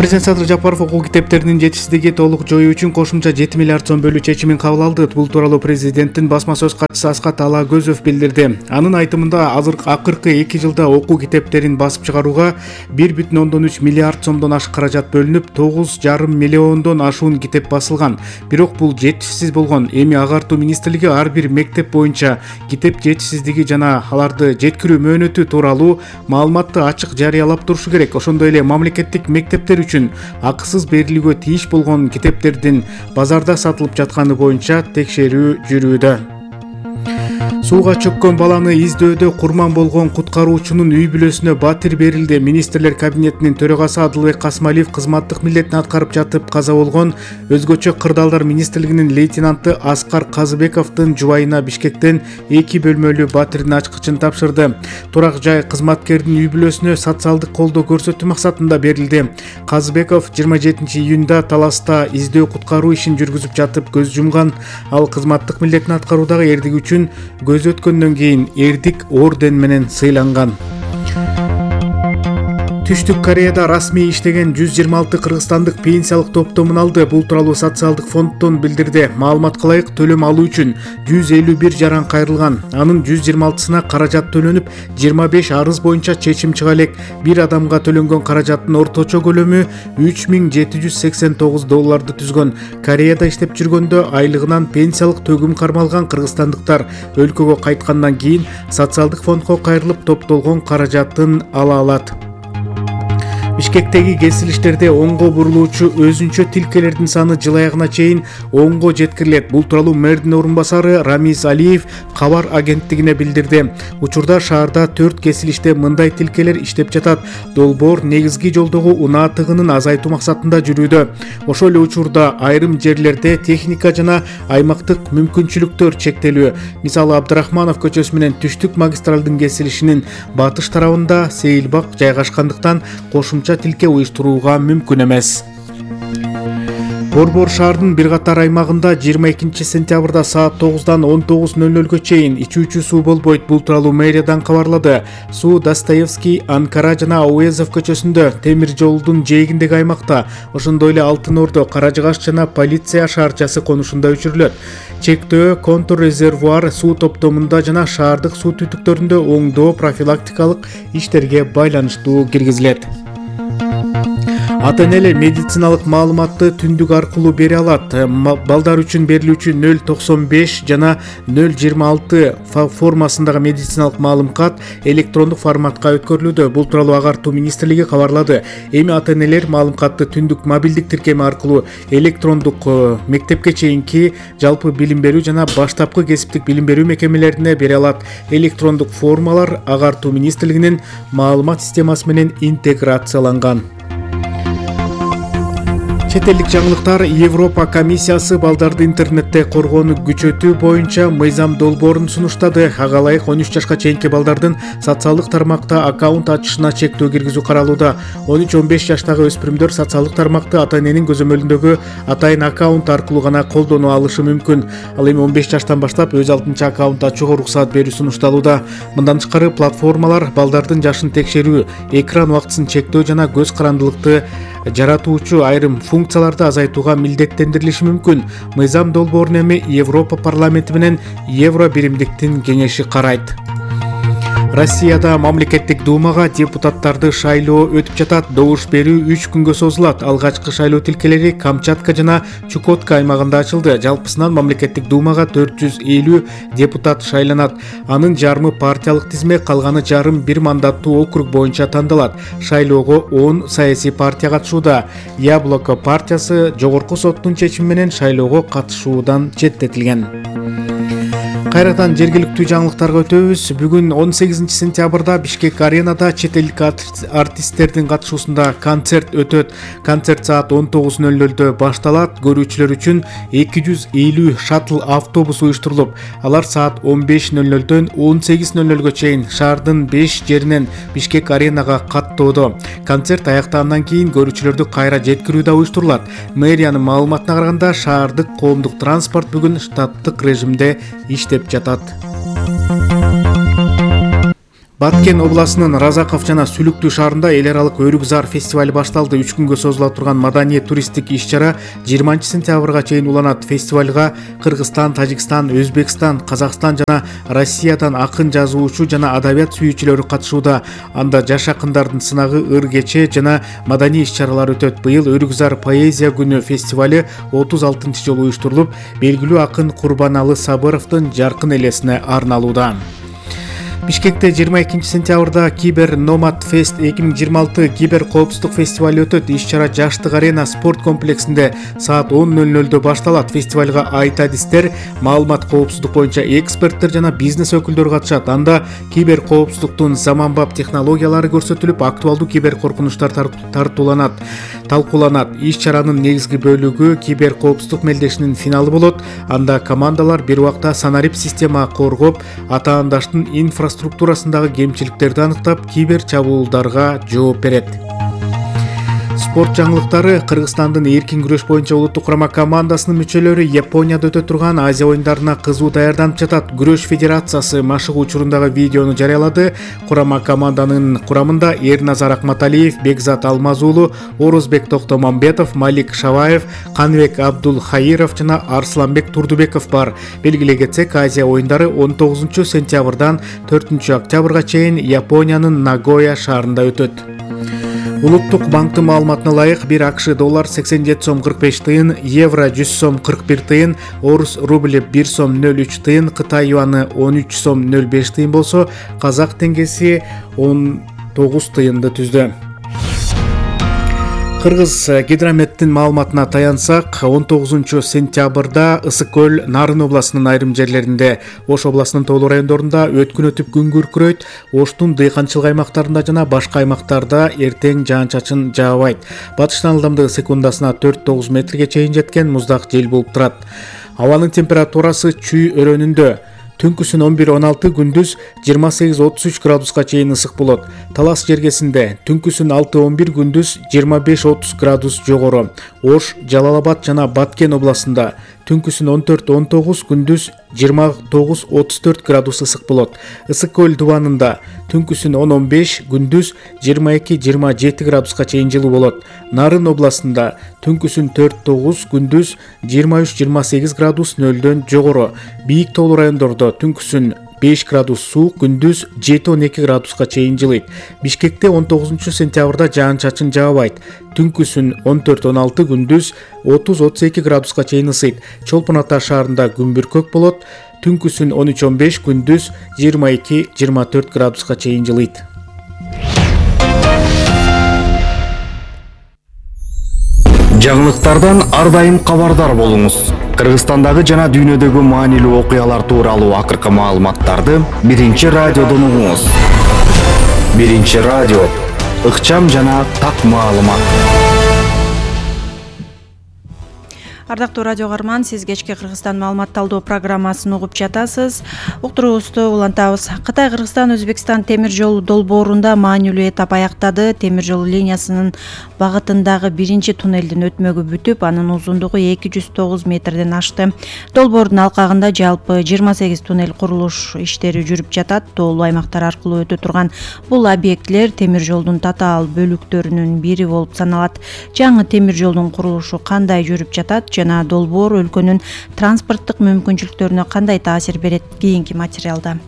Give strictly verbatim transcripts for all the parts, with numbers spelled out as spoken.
Президент Садыр Жапаров окуу китептеринин жетишсиздиги толук жоюу үчүн кошумча жети миллиард сом бөлүү чечимин кабыл алды. Бул тууралуу президенттин басма сөз катчысы Аскат Алагөзов билдирди. Анын айтымында азыр акыркы эки жылда окуу китептерин басып чыгарууга бир бүтүн ондон үч миллиард сомдон ашык каражат бөлүнүп, тогуз жарым миллиондон ашуун китеп басылган. Бирок бул жетишсиз болгон. Эми Агартуу министрлиги ар бир мектеп боюнча китеп жетишсиздиги жана аларды жеткирүү мөөнөтү тууралуу маалыматты ачык жарыялап турушу керек. Ошондой эле мамлекеттик мектептер үчүн акысыз берилүүгө тийиш болгон китептердин базарда сатылып жатканы боюнча текшерүү жүрүүдө. Сууга чөккөн баланы издөөдө курман болгон куткаруучунун үй бүлөсүнө батир берилди. Министрлер кабинетинин төрагасы Адылбек Касмалиев кызматтык милдетин аткарып жатып каза болгон өзгөчө кырдаалдар министрлигинин лейтенанты Аскар Казыбековдун жубайына Бишкектен эки бөлмөлүү батирдин ачкычын тапшырды. Турак жай кызматкердин үй бүлөсүнө социалдык колдоо көрсөтүү максатында берилди. Казыбеков жыйырма жетинчи июнда Таласта издөө куткаруу ишин жүргүзүп жатып көз жумган. Ал кызматтык милдетин аткаруудагы эрдиги үчүн көз өткөндөн кийин эрдик орден менен сыйланган. Түштүк Кореяда расмий иштеген жүз жыйырма алты кыргызстандык пенсиялык топтомун алды. Бул тууралуу социалдык фонддон билдирди. Маалыматка ылайык төлөм алуу үчүн жүз элүү бир жаран кайрылган. Анын жүз жыйырма алтысына каражат төлөнүп, жыйырма беш арыз боюнча чечим чыга элек. Бир адамга төлөнгөн каражаттын орточо көлөмү үч миң жети жүз сексен тогуз долларды түзгөн. Кореяда иштеп жүргөндө айлыгынан пенсиялык төгүм кармалган кыргызстандыктар өлкөгө кайткандан кийин социалдык фондго кайрылып топтолгон каражатын ала алат. Бишкектеги кесилиштерде оңго бурулуучу өзүнчө тилкелердин саны жыл аягына чейин онго жеткирилет. Бул тууралуу мэрдин орун басары Рамиз Алиев кабар агенттигине билдирди. Учурда шаарда төрт кесилиште мындай тилкелер иштеп жатат. Долбоор негизги жолдогу унаа тыгынын азайтуу максатында жүрүүдө. Ошол эле учурда айрым жерлерде техника жана аймактык мүмкүнчүлүктөр чектелүү. Мисалы Абдрахманов көчөсү менен Түштүк магистралдын кесилишинин батыш тарабында сейилбак жайгашкандыктан кошумча тилке уюштурууга мүмкүн эмес. Борбор шаардын бир катар аймагында жыйырма экинчи сентябрда саат тогуздан он тогуз ноль нолго чейин ичүүчү суу болбойт. Бул тууралуу мэриядан кабарлады. Суу Достоевский, Анкара жана Ауезов көчөсүндө, темир жолдун жээгиндеги аймакта, ошондой эле Алтын Ордо, Каражыгаш жана Полиция шаарчасы конушунда өчүрүлөт. Чектөө контур резервуар суу топтомунда жана шаардык суу түтүктөрүндө оңдоо профилактикалык иштерге байланыштуу киргизилет. Ата-энелер медициналык маалыматты түндүк аркылуу бере алат. Балдар үчүн берилүүчү нөл токсон беш жана нөл жыйырма алты формасындагы медициналык маалымат электрондук форматка өткөрүлүүдө. Бул тууралуу Агартуу министрлиги кабарлады. Эми ата-энелер маалыматты түндүк мобилдик тиркеми аркылуу электрондук мектепке чейинки жалпы билим берүү жана баштапкы кесиптик билим берүү мекемелерине бере алат. Электрондук формалар Агартуу министрлигинин маалымат системасы менен интеграцияланган. Чет элдик жаңылыктар. Европа комиссиясы балдарды интернетте коргоону күчөтүү боюнча мыйзам долбоорун сунуштады. Ага ылайык он үч жашка чейинки балдардын социалдык тармакта аккаунт ачышына чектөө киргизүү каралууда. он үч он беш жаштагы өспүрүмдөр социалдык тармакты ата-эненин көзөмөлүндөгү атайын аккаунт аркылуу гана колдоно алышы мүмкүн. Ал эми он беш жаштан баштап өз алдынча аккаунт ачууга уруксаат берүү сунушталууда. Мындан тышкары платформалар балдардын жашын текшерүү, экран убактысын чектөө жана көз карандылыкты жаратуучу айрым функцияларды азайтууга милдеттендирилиши мүмкүн. Мыйзам долбоорун эми Европа парламенти менен Евро биримдиктин кеңеши карайт. Россияда мамлекеттик думага депутаттарды шайлоо өтүп жатат. Добуш берүү үч күнгө созулат. Алгачкы шайлоо тилкелери Камчатка жана Чукотка аймагында ачылды. Жалпысынан мамлекеттик думага төрт жүз элүү депутат шайланат. Анын жарымы партиялык тизме, калганы жарым бир мандаттуу округ боюнча тандалат. Шайлоого он саясий партия катышууда. Яблоко партиясы жогорку соттун чечими менен шайлоого катышуудан четтетилген. Кайрадан жергиликтүү жаңылыктарга өтөбүз. Бүгүн он сегизинчи сентябрда Бишкек аренада чет элдик артисттердин катышуусунда концерт өтөт. Концерт саат он тогуз ноль нольдо башталат. Көрүүчүлөр үчүн эки жүз элүү шаттл автобус уюштурулуп, алар саат он беш ноль нольдон он сегиз ноль нольго чейин шаардын беш жеринен Бишкек аренага каттоодо. Концерт аяктагандан кийин көрүүчүлөрдү кайра жеткирүү да уюштурулат. Мэриянын маалыматына караганда, шаардык коомдук транспорт бүгүн штаттык режимде иштеп жатат. Баткен областынын Разаков жана Сүлүктүү шаарында эл аралык Өрүкзар фестивали башталды. үч күнгө созула турган маданий туристтик иш-чара жыйырманчы сентябрга чейин уланат. Фестивалга Кыргызстан, Тажикстан, Өзбекстан, Казакстан жана Россиядан акын, жазуучу жана адабият сүйүүчүлөрү катышууда. Анда жаш акындардын сынагы, ыр кече жана маданий иш-чаралар өтөт. Быйыл Өрүкзар поэзия күнү фестивали отуз алтынчы жолу уюштурулуп, белгилүү акын Курбаналы Сабыровдун жаркын элесине арналууда. Бишкекте жыйырма экинчи сентябрда Кибер Номад Фест эки миң жыйырма алты кибер коопсуздук фестивали өтөт. Иш-чара Жаштык арена спорт комплексинде саат он ноль нольдо башталат. Фестивалга айт адистер, маалымат коопсуздук боюнча эксперттер жана бизнес өкүлдөрү катышат. Анда кибер коопсуздуктун заманбап технологиялары көрсөтүлүп, актуалдуу кибер коркунучтар тартууланат, талкууланат. Иш-чаранын негизги бөлүгү кибер коопсуздук мелдешинин финалы болот. Анда командалар бир убакта санарип система коргоп, атаандаштын инфраструктурасы структурасындагы кемчиликтерди аныктап, кибер чабуулдарга жооп берет. Спорт жаңылыктары. Кыргызстандын эркин күрөш боюнча улуттук курама командасынын мүчөлөрү Японияда өтө турган Азия оюндарына кызуу даярданып жатат. Күрөш федерациясы машыгуу учурундагы видеону жарыялады. Курама команданын курамында Эрназар Акматалиев, Бекзат Алмазуулу, Орозбек Токтомамбетов, Малик Шаваев, Канбек Абдулхаиров жана Арсланбек Турдубеков бар. Белгилей кетсек, Азия оюндары он тогузунчу сентябрдан төртүнчү октябрга чейин Япониянын Нагоя шаарында өтөт. Улуттук банктын маалыматына ылайык, бир АКШ доллар сексен жети сом кырк беш тыйын, евро жүз сом кырк бир тыйын, орус рубль бир сом ноль үч тыйын, Кытай юаны он үч сом ноль беш тыйын болсо, казак теңгеси он тогуз тыйынды түздү. Кыргыз гидрометтин маалыматына таянсак, он тогузунчу сентябрда Ысык көл Нарын областынын айрым жерлеринде, Ош областынын тоолуу райондорунда өткүн өтүп күн күркүрөйт. Оштун дыйканчылык аймактарында жана башка аймактарда эртең жаан-чачын жаабайт. Батыштан ылдамдыгы секундасына төрт тогуз метрге чейин жеткен муздак жел болуп турат. Абанын температурасы чүй өрөөнүндө. Түнкүсүн он бир он алты, күндүз жыйырма сегиз отуз үч градуска чейин ысык болот. Талас жергесинде түнкүсүн алты он бир, күндүз жыйырма беш отуз градус жогору. Ош, Жалал-Абад жана Баткен областында түнкүсүн он төрт он тогуз, күндүз жыйырма тогуз отуз төрт градус ысык болот. Ысык көл дубанында түнкүсүн он он беш, күндүз жыйырма эки жыйырма жети градуска чейин жылуу болот. Нарын областында түнкүсүн төрт тогуз, күндүз жыйырма үч жыйырма сегиз градус нөлдөн жогору. Бийик тоолуу райондордо түнкүсүн беш градус суук, күндүз жети он эки градуска чейин жылыйт. Бишкекте он тогузунчу сентябрда жаан-чачын жаабайт. Түнкүсүн он төрт он алты, күндүз отуз отуз эки градуска чейин ысыйт. Чолпон Ата шаарында күн бүркөк болот. Түнкүсүн он үч он беш, күндүз жыйырма эки жыйырма төрт градуска чейин жылыйт. Жаңылыктардан ар дайым кабардар болуңуз. Кыргызстандагы жана дүйнөдөгү маанилүү окуялар тууралуу акыркы маалыматтарды Биринчи радиодон угуңуз. Биринчи радио, ыкчам жана так маалымат. Ардактуу радио каарман, сиз кечки Кыргызстан маалымат талдоо программасын угуп жатасыз. Уктуруубузду улантабыз. Кытай Кыргызстан Өзбекстан темир жол долбоорунда маанилүү этап аяктады. Темир жол линиясынын багытындагы биринчи туннелдин өтмөгү бүтүп, анын узундугу эки жүз тогуз метрден ашты. Долбоордун алкагында жалпы жыйырма сегиз туннель курулуш иштери жүрүп жатат. Тоолуу аймактар аркылуу өтө турган бул объектилер темир жолдун татаал бөлүктөрүнүн бири болуп саналат. Жаңы темир жолдун курулушу кандай жүрүп жатат жана долбоор өлкөнүн транспорттук мүмкүнчүлүктөрүнө кандай таасир берет? Кийинки материалда.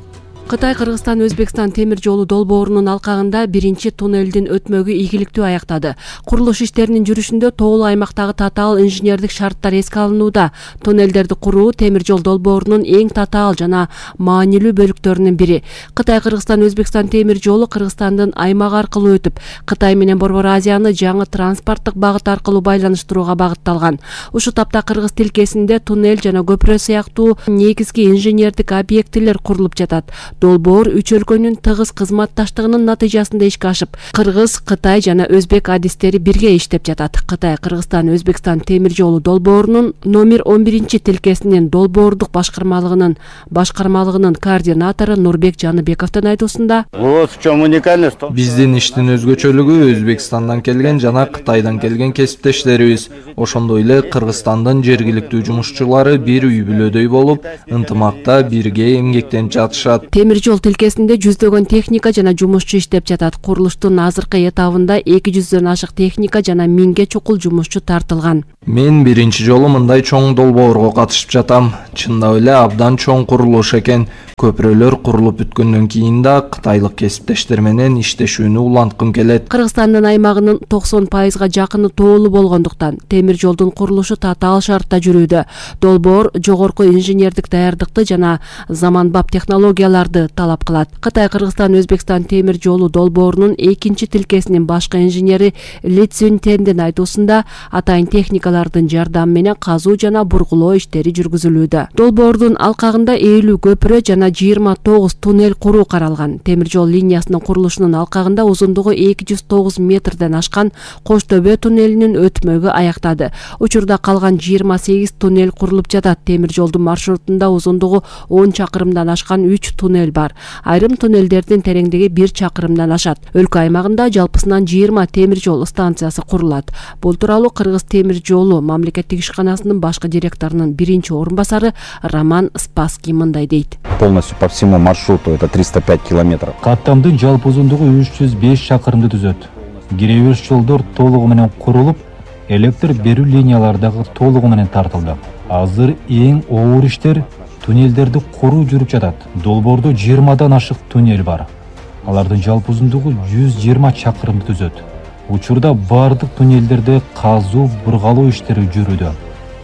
Кытай Кыргызстан Өзбекстан темир жолу долбоорунун алкагында биринчи туннелдин өтмөгү ийгиликтүү аяктады. Курулуш иштеринин жүрүшүндө тоолуу аймактагы татаал инженердик шарттар эске алынууда. Туннелдерди куруу темир жол долбоорунун эң татаал жана маанилүү бөлүктөрүнүн бири. Кытай Кыргызстан Өзбекстан темир жолу Кыргызстандын аймагы аркылуу өтүп, Кытай менен Борбор Азияны жаңы транспорттук багыт аркылуу байланыштырууга багытталган. Ушул тапта кыргыз тилкесинде туннель жана көпүрө сыяктуу негизги инженердик объектилер курулуп жатат. Долбоор үч өлкөнүн тыгыз кызматташтыгынын натыйжасында ишке ашып, кыргыз, Кытай жана өзбек адистери бирге иштеп жатат. Кытай Кыргызстан Өзбекстан темир жолу долбоорунун номер он биринчи тилкесинин долбоордук башкармалыгынын башкармалыгынын координатору Нурбек Жаныбековдун айтуусунда, биздин иштин өзгөчөлүгү Өзбекстандан келген жана Кытайдан келген кесиптештерибиз, ошондой эле Кыргызстандын жергиликтүү жумушчулары бир үй бүлөдөй болуп, ынтымакта бирге эмгектенип жатышат. темир жол тилкесинде жүздөгөн техника жана жумушчу иштеп жатат. Курулуштун азыркы этабында эки жүздөн ашык техника жана миңге чукул жумушчу тартылган. Мен биринчи жолу мындай чоң долбоорго катышып жатам. Чындап эле абдан чоң курулуш экен. Көпүрөлөр курулуп бүткөндөн кийин да кытайлык кесиптештер менен иштешүүнү уланткым келет. Кыргызстандын аймагынын токсон пайызга жакыны тоолуу болгондуктан темир жолдун курулушу татаал шартта жүрүүдө. Долбоор жогорку инженердик даярдыкты жана заманбап технологияларды талап кылат. Кытай Кыргызстан Өзбекстан темир жолу долбоорунун экинчи тилкесинин башкы инженери Ли Цзюньтендин айтуусунда атайын техникалардын жардамы менен казуу жана бургулоо иштери жүргүзүлүүдө. Долбоордун алкагында элүү көпүрө жана жыйырма тогуз туннель куруу каралган. Темир жол линиясынын курулушунун алкагында узундугу эки жүз тогуз метрден ашкан Кош төбө туннелинин өтмөгү аяктады. Учурда калган жыйырма сегиз туннель курулуп жатат. Темир жолдун маршрутунда узундугу он чакырымдан ашкан үч туннель бар. Айрым туннелдердин тереңдиги бир чакырымдан ашат. Өлкө аймагында жалпысынан жыйырма темир жол станциясы курулат. Бул тууралуу Кыргыз темир жолу мамлекеттик ишканасынын башкы директорунун биринчи орун басары Роман Спасский мындай дейт. Полностью по всему маршруту это триста пять километров. Каттамдын жалпы узундугу үч жүз беш чакырымды түзөт. Киребеш жолдор толугу менен курулуп, электр берүү линиялары дагы толугу менен тартылды. Азыр эң оор иштер туннелдерди куруу жүрүп жатат. Долбоордо жыйырмадан ашык туннель бар. Алардын жалпы узундугу жүз жыйырма чакырымды түзөт. Учурда бардык туннелдерде казуу, бургалоо иштери жүрүүдө.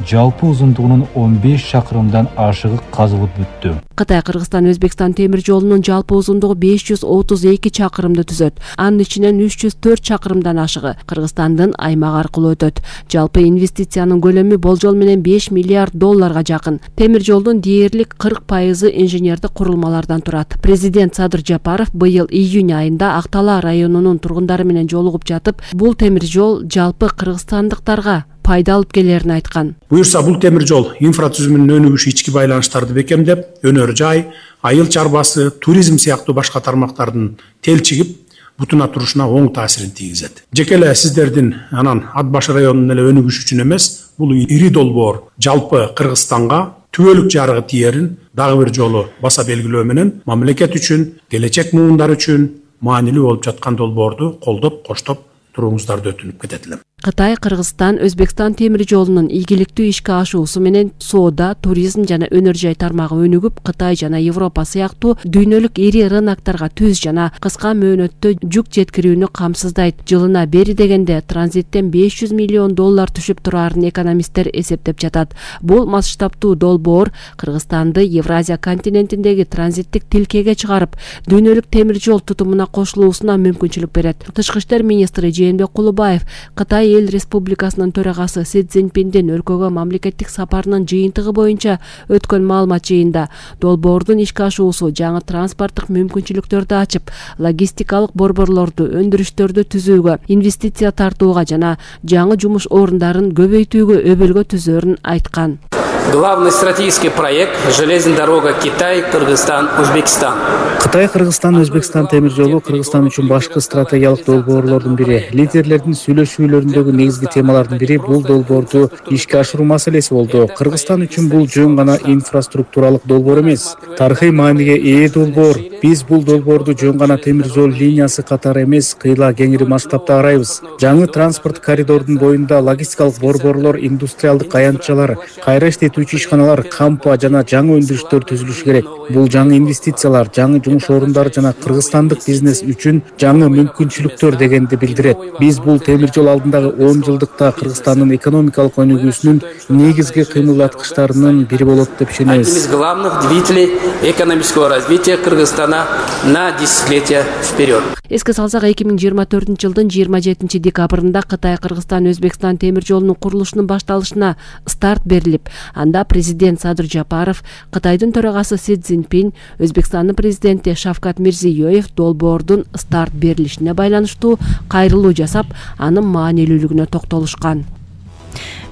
Жалпы узундугунун он беш чакырымдан ашыгы казылып бүттү. Кытай Кыргызстан Өзбекстан темир жолунун жалпы узундугу беш жүз отуз эки чакырымды түзөт. Анын ичинен үч жүз төрт чакырымдан ашыгы Кыргызстандын аймагы аркылуу өтөт. Жалпы инвестициянын көлөмү болжол менен беш миллиард долларга жакын. Темир жолдун дээрлик кырк пайызы инженердик курулмалардан турат. Президент Садыр Жапаров быйыл июнь айында Актала районунун тургундары менен жолугуп жатып, бул темир жол жалпы кыргызстандыктарга пайда алып келерин айткан. Буюрса бул темир жол инфратүзүмүнүн өнүгүшү, ички байланыштарды бекемдеп, өнөр жай, айыл чарбасы, туризм сыяктуу башка тармактардын телчигип, бутуна турушуна оң таасирин тийгизет. Жеке эле сиздердин анан Ат баш районунун эле өнүгүшү үчүн эмес, бул ири долбоор жалпы Кыргызстанга түбөлүк жарыгы тиерин дагы бир жолу баса белгилөө менен мамлекет үчүн, келечек муундар үчүн маанилүү болуп жаткан долбоорду колдоп, коштоп туруңуздарды өтүнүп кетет элем. Кытай Кыргызстан Өзбекстан темир жолунун ийгиликтүү ишке ашуусу менен соода, туризм жана өнөр жай тармагы өнүгүп, Кытай жана Европа сыяктуу дүйнөлүк ири рыноктарга түз жана кыска мөөнөттө жүк жеткирүүнү камсыздайт. Жылына бери дегенде транзиттен беш жүз миллион доллар түшүп турарын экономисттер эсептеп жатат. Бул масштабтуу долбоор Кыргызстанды Евразия континентиндеги транзиттик тилкеге чыгарып, дүйнөлүк темир жол тутумуна кошулуусуна мүмкүнчүлүк берет. Тышкы иштер министри Жээнбек Кулубаев Кытай Эл Республикасынын төрагасы Си Цзиньпиндин өлкөгө мамлекеттик сапарынын жыйынтыгы боюнча өткөн маалымат жыйында долбоордун ишке ашуусу жаңы транспорттук мүмкүнчүлүктөрдү ачып, логистикалык борборлорду, өндүрүштөрдү түзүүгө, инвестиция тартууга жана жаңы жумуш орундарын көбөйтүүгө өбөлгө түзөрүн айткан. Главный стратегический проект «Железная дорога Китай, Кыргызстан, Өзбекстан». Кытай, Кыргызстан, Өзбекстан темир жолу Кыргызстан үчүн башкы стратегиялык долбоорлордун бири. Лидерлердин сүйлөшүүлөрүндөгү негизги темалардын бири бул долбоорду ишке ашыруу маселеси болду. Кыргызстан үчүн бул жөн гана инфраструктуралык долбоор эмес, тарыхый мааниге ээ долбоор. Биз бул долбоорду жөн гана темир жол линиясы катары эмес, кыйла кеңири масштабта карайбыз. Жаңы транспорт коридордун боюнда логистикалык борборлор, индустриалдык аянтчалар, кайра иштетүүчү ишканалар, кампа жана жаңы өндүрүштөр түзүлүшү керек. Бул жаңы инвестициялар, жаңы жумуш орундары жана кыргызстандык бизнес үчүн жаңы мүмкүнчүлүктөр дегенди билдирет. Биз бул темир жол алдындагы он жылдыкта Кыргызстандын экономикалык өнүгүүсүнүн негизги кыймылдаткычтарынын бири болот деп ишенебиз. Одним из главных двигателей экономического развития Кыргызстана на десятилетия вперед. Эске салсак, эки миң жыйырма төртүнчү жылдын жыйырма жетинчи декабрында Кытай Кыргызстан Өзбекстан темир жолунун курулушунун башталышына старт берилип, анда президент Садыр Жапаров, Кытайдын төрагасы Си Цзиньпин, Өзбекстандын президенти Шавкат Мирзиёев долбоордун старт берилишине байланыштуу кайрылуу жасап, анын маанилүүлүгүнө токтолушкан.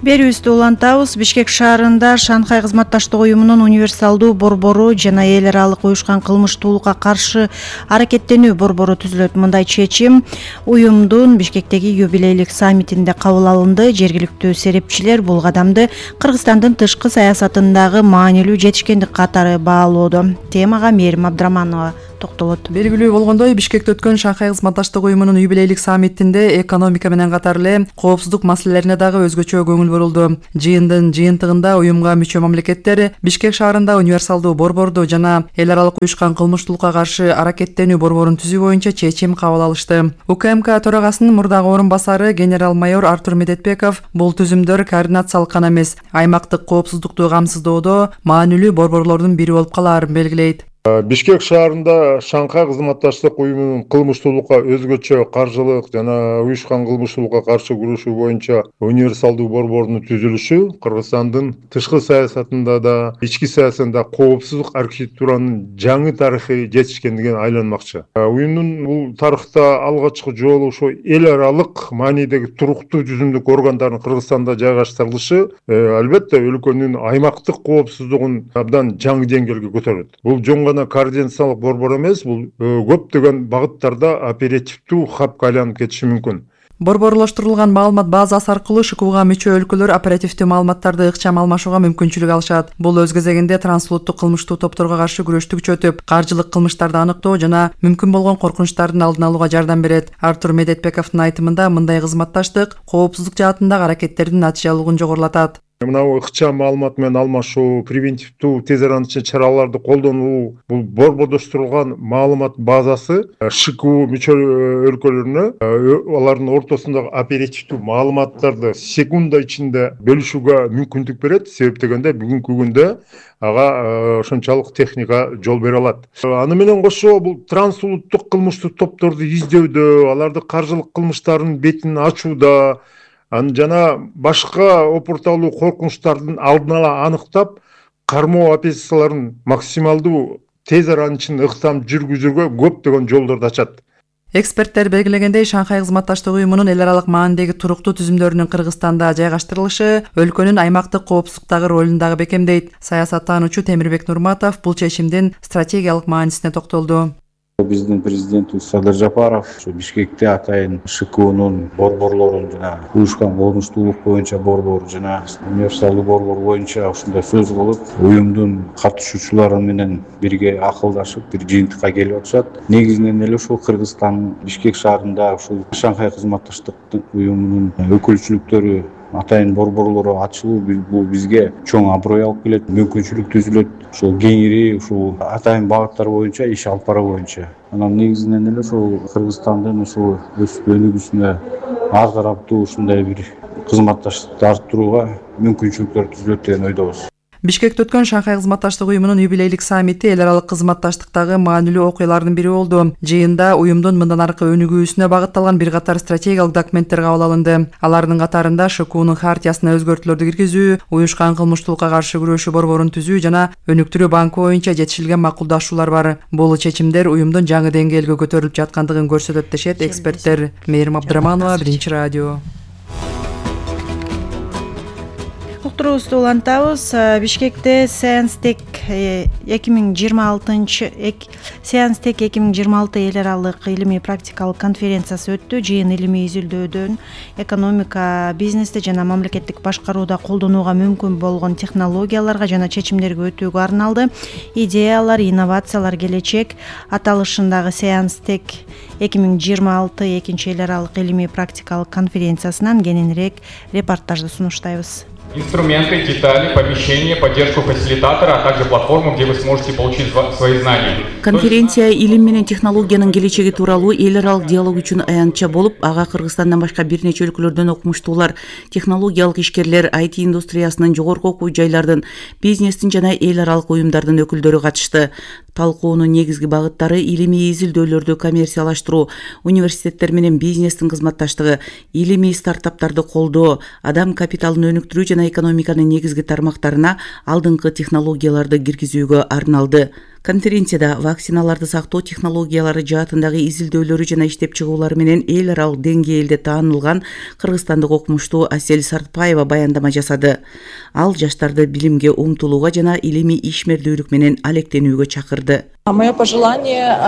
Берүүбүздү улантабыз. Бишкек шаарында Шанхай кызматташтык уюмунун универсалдуу борбору жана эл аралык уюшкан кылмыштуулукка каршы аракеттенүү борбору түзүлөт. Мындай чечим уюмдун Бишкектеги юбилейлик саммитинде кабыл алынды. Жергиликтүү серепчилер бул кадамды Кыргызстандын тышкы саясатындагы маанилүү жетишкендик катары баалоодо. Темага Мээрим Абдраманова токтолот. Белгилүү болгондой, Бишкекте өткөн Шанхай кызматташтык уюмунун юбилейлик саммитинде экономика менен катар эле коопсуздук маселелерине дагы өзгөчө көңүл бурулду. Жыйындын жыйынтыгында уюмга мүчө мамлекеттер Бишкек шаарында универсалдуу борборду жана эл аралык уюшкан кылмыштуулукка каршы аракеттенүү борборун түзүү боюнча чечим кабыл алышты. УКМК төрагасынын мурдагы орун басары генерал-майор Артур Медетбеков бул түзүмдөр координациялык гана эмес, аймактык коопсуздукту камсыздоодо маанилүү борборлордун бири болуп калаарын белгилейт. Бишкек шаарында Шанхай кызматташтык уюмунун кылмыштуулукка өзгөчө каржылык жана уюшкан кылмыштуулукка каршы күрөшүү боюнча универсалдуу борбордун түзүлүшү Кыргызстандын тышкы саясатында да, ички саясатында коопсуздук архитектуранын жаңы тарыхый жетишкендигин айланмакчы. Уюмдун бул тарыхта алгачкы жолу ошо эл аралык маанидеги туруктуу жүзүмдүк органдардын Кыргызстанда жайгаштырылышы албетте өлкөнүн аймактык коопсуздугун абдан жаңы деңгээлге көтөрөт. Бул жоң гана координациялык борбор эмес, бул көптөгөн багыттарда оперативдүү хабка айланып кетиши мүмкүн. Борборлоштурулган маалымат базасы аркылуу ШКУга мүчө өлкөлөр оперативдүү маалыматтарды ыкчам алмашууга мүмкүнчүлүк алышат. Бул өз кезегинде трансулуттук кылмыштуу топторго каршы күрөштү күчөтүп, каржылык кылмыштарды аныктоо жана мүмкүн болгон коркунучтардын алдын алууга жардам берет. Артур Медетбековдун айтымында мындай кызматташтык коопсуздук жаатындагы аракеттердин натыйжалуулугун жогорулатат. Мынау ыкчам маалымат менен алмашуу, превентивдүү тез аранча чараларды колдонуу, бул борбордоштурулган маалымат базасы ШКУ мүчө өлкөлөрүнө алардын ортосундагы оперативдүү маалыматтарды секунда ичинде бөлүшүүгө мүмкүндүк берет. Себеп дегенде бүгүнкү күндө ага ошончолук техника жол бере алат. Аны менен кошо бул трансулуттук кылмыштуу топторду издөдө, аларды каржылык кылмыштардын бетин ачууда, аны жана башка опурталуу коркунучтардын алдын ала аныктап, кармоо операцияларын максималдуу тез араны ичинде ыктам жүргүзүүгө көптөгөн жолдорду ачат. Эксперттер белгилегендей, Шанхай кызматташтык уюмунун эл аралык маанидеги туруктуу түзүмдөрүнүн Кыргызстанда жайгаштырылышы өлкөнүн аймактык коопсуздуктагы ролун дагы бекемдейт. Саясаттануучу Темирбек Нурматов бул чечимдин стратегиялык маанисине токтолду. Биздин президентибиз Садыр Жапаров Бишкекте атайын ШКУнун борборлорун жана уюшкан кылмыштуулук боюнча борбор жана универсалдуу борбор боюнча ушундай сөз кылып, уюмдун катышуучулары менен бирге акылдашып, бир жыйынтыкка келип атышат. Негизинен эле ушул Кыргызстан Бишкек шаарында ушул Шанхай кызматташтык уюмунун өкүлчүлүктөрү атайын борборлору ачылуу бул бизге чоң аброй алып келет, мүмкүнчүлүк түзүлөт. Ушул кеңири ушул атайын багыттар боюнча иш алып баруу боюнча. Анан негизинен эле ушул Кыргызстандын ушул өсүп өнүгүүсүнө ар тараптуу ушундай бир кызматташтыкты арттырууга мүмкүнчүлүктөр түзүлөт деген ойдобуз. Бишкекте өткөн Шанхай кызматташтык уюмунун юбилейлик саммити эл аралык кызматташтыктагы маанилүү окуялардын бири болду. Жыйында уюмдун мындан аркы өнүгүүсүнө багытталган бир катар стратегиялык документтер кабыл алынды. Алардын катарында ШКУнун хартиясына өзгөртүүлөрдү киргизүү, уюшкан кылмыштуулукка каршы күрөшүү борборун түзүү жана өнүктүрүү банкы боюнча жетишилген макулдашуулар бар. Бул чечимдер уюмдун жаңы деңгээлге көтөрүлүп жаткандыгын көрсөтөт дешет эксперттер. Мээрим Абдраманова, Биринчи радио. Уктуруубузду улантабыз. Бишкекте Сеанстек эки миң жыйырма алтынчы Сеанстек эки миң жыйырма алты эл аралык илимий практикалык конференциясы өттү. Жыйын илимий изилдөөдөн экономика, бизнесте жана мамлекеттик башкарууда колдонууга мүмкүн болгон технологияларга жана чечимдерге өтүүгө арналды. Идеялар, инновациялар, келечек аталышындагы Сеанстек эки миң жыйырма алты экинчи эл аралык илимий практикалык конференциясынан кененирээк репортажды сунуштайбыз. Инструменты, детали, помещения, поддержку фасилитатора, а также платформу, где вы сможете получить свои знания. Конференция илим менен технологиянын келечеги тууралуу эл аралык диалог үчүн аянтча болуп, ага Кыргызстандан башка бир нече өлкөлөрдөн окумуштуулар, технологиялык ишкерлер, ай ти индустриясынын жогорку окуу жайлардын, бизнестин жана эл аралык уюмдардын өкүлдөрү катышты. Талкуунун негизги багыттары илимий изилдөөлөрдү коммерциялаштыруу, университеттер менен бизнестин кызматташтыгы, илимий стартаптарды колдоо, адам капиталын өнүктүрүү жана жана экономиканын негизги тармактарына алдыңкы технологияларды киргизүүгө арналды. Конференцияда вакциналарды сактоо технологиялары жаатындагы изилдөөлөрү жана иштеп чыгуулары менен эл аралык деңгээлде таанылган кыргызстандык окумуштуу Асель Сартпаева баяндама жасады. Ал жаштарды билимге умтулууга жана илимий ишмердүүлүк менен алектенүүгө чакырды. Мое пожелание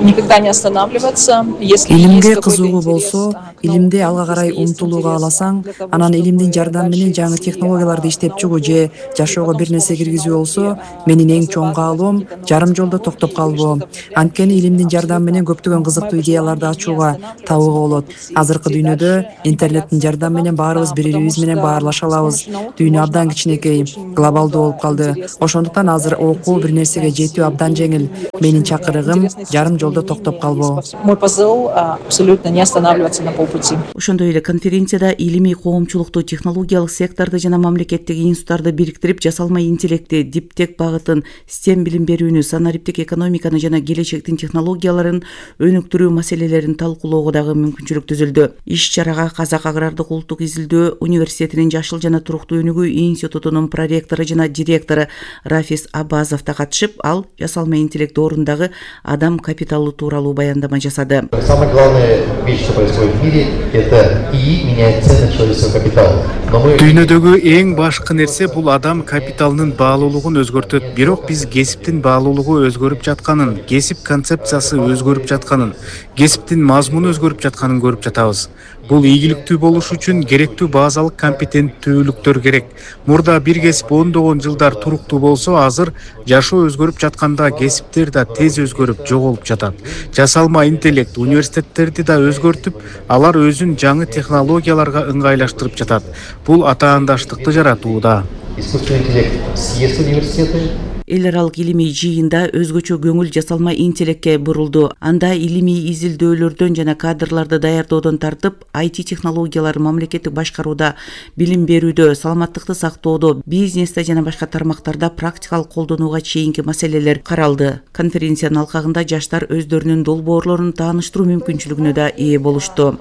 никогда не останавливаться. Илимге кызыгуу болсо, илимди алга карай умтулууга аласаң, анан илимдин жардамы менен жаңы технологияларды иштеп чыгуу же жашоого бир нерсе киргизүү болсо, менин эң чоң каалоом жарым жолдо токтоп калбоо. Анткени илимдин жардамы менен көптөгөн кызыктуу идеяларды ачууга, табууга болот. Азыркы дүйнөдө интернеттин жардамы менен баарыбыз бири-бирибиз менен баарлаша алабыз. Дүйнө абдан кичинекей, глобалдуу болуп калды. Ошондуктан азыр окуу бир нерсеге жетүү абдан жеңил. Менин чакырыгым жарым жолдо токтоп калбоо. Мой посыл абсолютно не останавливаться на полпути. Ошондой эле конференцияда илимий коомчулукту, технологиялык секторду жана мамлекеттик институттарды бириктирип, жасалма интеллекти, диптек багытын, STEM билим берүүнү, санариптик экономиканы жана келечектин технологияларын өнүктүрүү маселелерин талкуулоого дагы мүмкүнчүлүк түзүлдү. Иш-чарага Казак агрардык улуттук изилдөө университетинин Жашыл жана туруктуу өнүгүү институтунун проректору жана директору Рафис Абазов да катышып, ал жасалма интеллект орындагы адам капиталы тууралуу баяндама жасады. Самая главная вещь, что происходит в мире, это ИИ меняет цену человеческого капитала. Дүйнөдөгү эң башкы нерсе бул адам капиталынын баалуулугун өзгөртөт. Бирок биз кесиптин баалуулугу өзгөрүп жатканын, кесип концепциясы өзгөрүп жатканын, кесиптин мазмуну өзгөрүп жатканын көрүп жатабыз. Бул ийгиликтүү болуш үчүн керектүү базалык компетенттүүлүктөр керек. Мурда бир кесип ондогон жылдар туруктуу болсо, азыр жашоо өзгөрүп жатканда кесиптер да тез өзгөрүп жоголуп жатат. Жасалма интеллект университеттерди да өзгөртүп, алар өзүн жаңы технологияларга ыңгайлаштырып жатат. Бул атаандаштыкты жаратууда. Искусственный интеллект съест университеты. Эл аралык илимий жыйында өзгөчө көңүл жасалма интеллектке бурулду. Анда илимий изилдөөлөрдөн жана кадрларды даярдоодон тартып, ай ти технологиялары мамлекеттик башкарууда, билим берүүдө, саламаттыкты сактоодо, бизнесте жана башка тармактарда практикалык колдонууга чейинки маселелер каралды. Конференциянын алкагында жаштар өздөрүнүн долбоорлорун тааныштыруу мүмкүнчүлүгүнө да ээ болушту.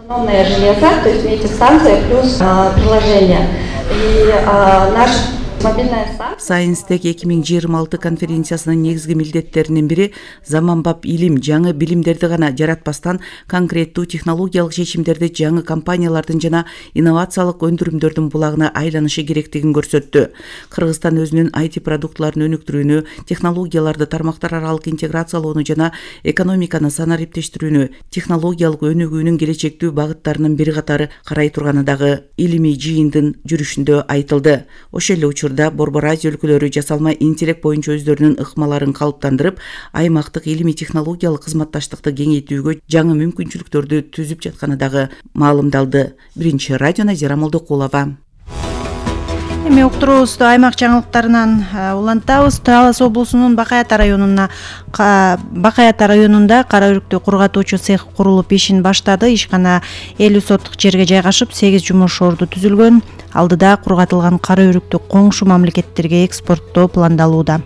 Сайнстек эки миң жыйырма алты конференциясынын негизги милдеттеринин бири заманбап илим, жаңы билимдерди гана жаратпастан конкреттүү технологиялык чечимдерди жаңы компаниялардын жана инновациялык өндүрүмдөрдүн булагына айланышы керектигин көрсөттү. Кыргызстан өзүнүн ай ти продуктларын өнүктүрүүнү, технологияларды тармактар аралык интеграциялоону жана экономиканы санариптештирүүнү, технологиялык өнүгүүнүн келечектүү багыттарынын бир катары карай турганы дагы илимий жыйындын жүрүшүндө айтылды. Ошол эле учурда Борбор Азия өлкөлөрү жасалма интеллект боюнча өздөрүнүн ыкмаларын калыптандырып, аймактык илимий технологиялык кызматташтыкты кеңейтүүгө жаңы мүмкүнчүлүктөрдү түзүп жатканы дагы маалымдалды. Биринчи радио Назира Молдокулова. Эми уктуруубузду аймак жаңылыктарынан улантабыз. Талас облусунун Бакай Ата районуна Бакай Ата районунда кара өрүктү кургатуучу цех курулуп ишин баштады. Ишкана элүү соттук жерге жайгашып, сегиз жумуш орду түзүлгөн. Алдыда кургатылган кара өрүктү коңшу мамлекеттерге экспорттоо пландалууда.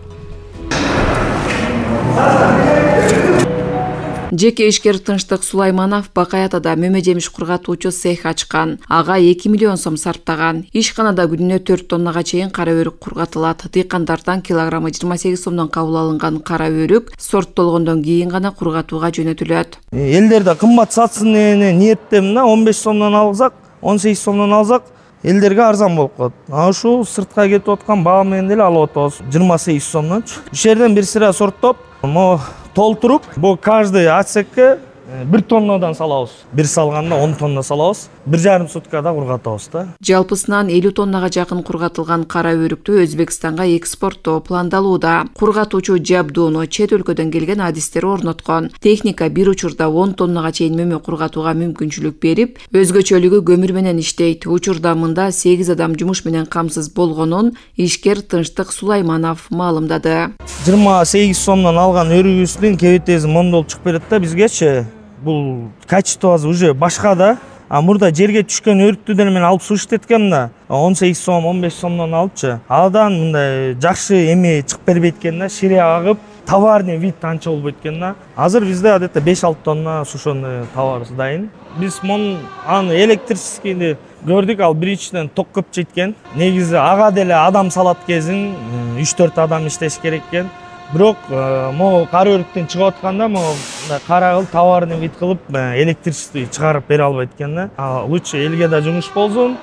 Жеке ишкер Тынчтык Сулайманов Бакай Атада мөмө жемиш кургатуучу цех ачкан. Ага эки миллион сом сарптаган. Ишканада күнүнө төрт тоннага чейин кара өрүк кургатылат. Дыйкандардан килограммы жыйырма сегиз сомдон кабыл алынган кара өрүк сорттолгондон кийин гана кургатууга жөнөтүлөт. Элдерде кымбат сатсын деген ниеттемин, он беш сомдон алсак, он сегиз сомдон алсак, элдерге арзан болуп калат. А ушул сыртка кетип аткан баа менен деле алып атабыз. жыйырма сегиз сомдончу. Иш жерден бир сыра сорттоп, мо толтуруп, бу каждый отсекке бир тоннадан салабыз. Бир салганда он тонна салабыз. Бир жарым суткада кургатабыз да. Жалпысынан элүү тоннага жакын кургатылган кара өрүктү Өзбекстанга экспорттоо пландалууда. Кургатуучу жабдууну чет өлкөдөн келген адистер орноткон. Техника бир учурда он тоннага чейин мөмө кургатууга мүмкүнчүлүк берип, өзгөчөлүгү көмүр менен иштейт. Учурда мында сегиз адам жумуш менен камсыз болгонун ишкер Тынчтык Сулайманов маалымдады. жыйырма сегиз сомдон алган өрүгүбүздүн кебетези мондол чыгып берет да бизгечи. Бул качествосы уже башка да. А мурда жерге түшкөн өрүктү деле мен алып суу иштеткем да. он сегиз сом, он беш сомдон алыпчы. Адан мындай жакшы эми чыгып бербейт экен да, шире агып, товарный вид анча болбойт экен да. Азыр бизде адетте беш алты тонна сушеный товар дайын. Биз муну аны электрическийди көрдүк, ал биринчиден ток көп жеткен. Негизи ага деле адам салат кезин үч төрт адам иштеш керек экен. Бирок могу кара өрүктөн чыгып атканда могу кара кыл товарный вид кылып электричество чыгарып бере албайт экен да. Лучше элге да жумуш болсун,